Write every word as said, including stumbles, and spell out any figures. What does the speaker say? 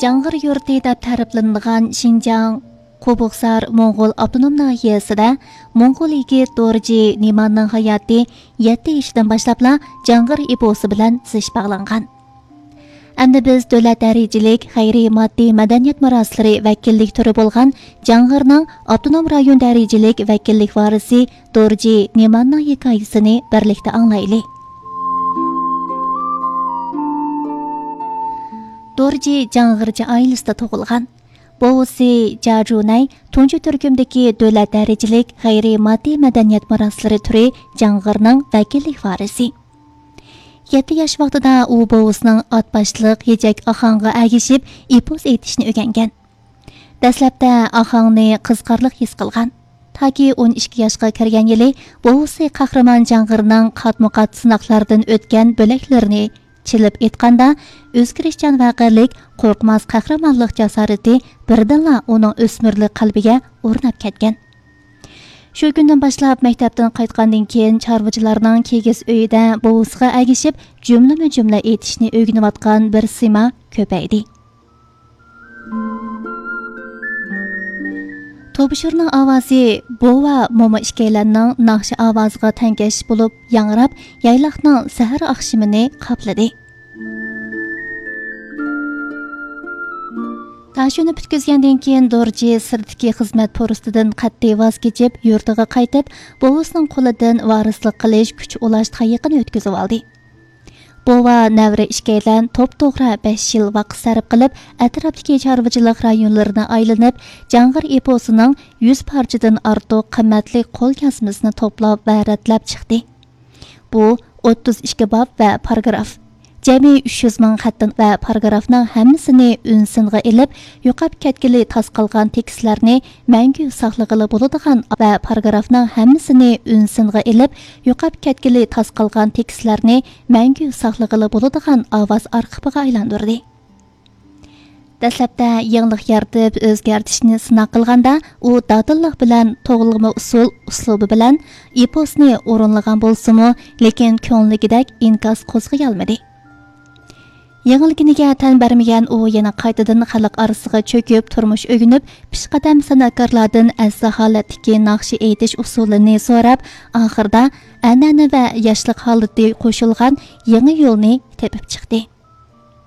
جاڭغىر يۇرتى دەپ تەرىپلىنىدىغان شىنجاڭ قوبۇقسار موڭغۇل ئاپتونوم ناھىيەسىدە موڭغۇل يىگىت دورجى نېماننىڭ ھاياتى يەتتە يېشىدىن باشلاپلا جاڭغىر ئېپوسى بىلەن زىچ باغلانغان. ئەمدى بىز دۆلەت دەرىجىلىك غەيرىي ماددىي مەدەنىيەت مىراسلىرى ۋەكىللىك تۈرى بولغان جاڭغىرنىڭ ئاپتونوم رايون دەرىجىلىك ۋەكىللىك ۋارىسى دورجى نېماننىڭ ھېكايىسىنى بىرلىكتە ئاڭلايلى. دورجى جاڭغىرچە ئائىلىسىدە تۇغۇلغان. بوۋىسى جاجۇنەي تۇنجى تۈركۈمدىكى دۆلەت دەرىجىلىك غەيرىي ماددىي مەدەنىيەت مىراسلىرى تۈرى جاڭغىرنىڭ ۋەكىللىك ۋارىسى. يەتتە ياش ۋاقتىدا ئۇ بوۋىسىنىڭ ئات باشلىق ھېجەك ئاخاڭغا ئەگىشىپ ئېپوس ئېيتىشنى ئۆگەنگەن. دەسلەپتە ئاخاڭنى قىزىقارلىق ھېس قىلغان. تاكى ئون ئىككى ياشقا كىرگەن يىلى بوۋىسى قەھرىمان جاڭغىرنىڭ قاتمۇقات سىناقلاردىن ئۆتكەن بۆلەكلىرىنى چېلىپ ئېيتقاندا، ئۆزگىرىشچان ۋەقەلىك، قورقماس قەھرىمانلىق جاسارىتى بىردىنلا ئۇنىڭ ئۆسمۈرلۈك قەلبىگە ئورناپ كەتكەن. شۇ كۈندىن باشلاپ مەكتەپتىن قايتقاندىن كېيىن چارۋىچىلارنىڭ كىگىز ئۆيىدە بوۋىسىغا ئەگىشىپ جۈملىمۇ جۈملە ئېيتىشنى ئۆگىنىۋاتقان بىر سىيما كۆپەيدى. توبىشۇرنىڭ ئاۋازى بوۋا موما ئىككىيلەننىڭ ناخشا ئاۋازىغا تەڭكەش بولۇپ ياڭراپ، يايلاقنىڭ سەھەر ئاخشىمىنى قاپلىدى. تاشيولنى پۈتكۈزگەندىن كېيىن، دورجى سىرتتىكى خىزمەت پۇرسىتىدىن قەتئىي ۋاز كېچىپ، يۇرتىغا قايتىپ، بوۋىسىنىڭ قولىدىن ۋارىسلىق قىلىش، كۈچ ئۇلاش تايىقىنى ئۆتكۈزۈۋالدى. بوۋا، نەۋرە ئىككىيلەن توپتوغرا بەش يىل ۋاقىت سەرپ قىلىپ، ئەتراپتىكى چارۋىچىلىق رايونلىرىنى ئايلىنىپ، جاڭغىر ئېپوسىنىڭ يۈز پارچىدىن ئارتۇق قىممەتلىك قول يازمىسىنى توپلاپ ۋە رەتلەپ چىقتى. بۇ ئوتتۇز ئىككى باب ۋە پاراگراف. جەمئىي ئۈچ يۈز مىڭ خەتتىن ۋە پاراگرافنىڭ ھەممىسىنى ئۈن سىنغا ئېلىپ، يوقاپ كەتكىلى تاس قالغان تېكىستلەرنى مەڭگۈ ساقلىغىلى بولىدىغان ۋە پاراگرافنىڭ ھەممىسىنى ئۈن سىنغا ئېلىپ، يوقاپ كەتكىلى تاس قالغان تېكىستلەرنى مەڭگۈ ساقلىغىلى بولىدىغان ئاۋاز ئارخىپىغا ئايلاندۇردى. دەسلەپتە يېڭىلىق يارىتىپ ئۆزگەرتىشنى سىناق قىلغاندا، ئۇ دادىللىق بىلەن توغرىلىما ئۇسۇل ئۇسلۇبى بىلەن ئېپوسنى ئورۇنلىغان بولسىمۇ، لېكىن كۆڭلىدىكىدەك ئىنكاس قوزغىيالمىدى. يېڭىلگىنىگە تەن بەرمىگەن ئۇ يەنە قايتىدىن خەلق ئارىسىغا چۆكۈپ، تۇرمۇش ئۆگىنىپ، پېشقەدەم سەنئەتكارلاردىن ئەززە ھالەتتىكى ناخشا ئېيتىش ئۇسۇلىنى سوراپ، ئاخىرىدا ئەنئەنە ۋە ياشلىق ھالىتى قوشۇلغان يېڭى يولنى تېپىپ چىقتى.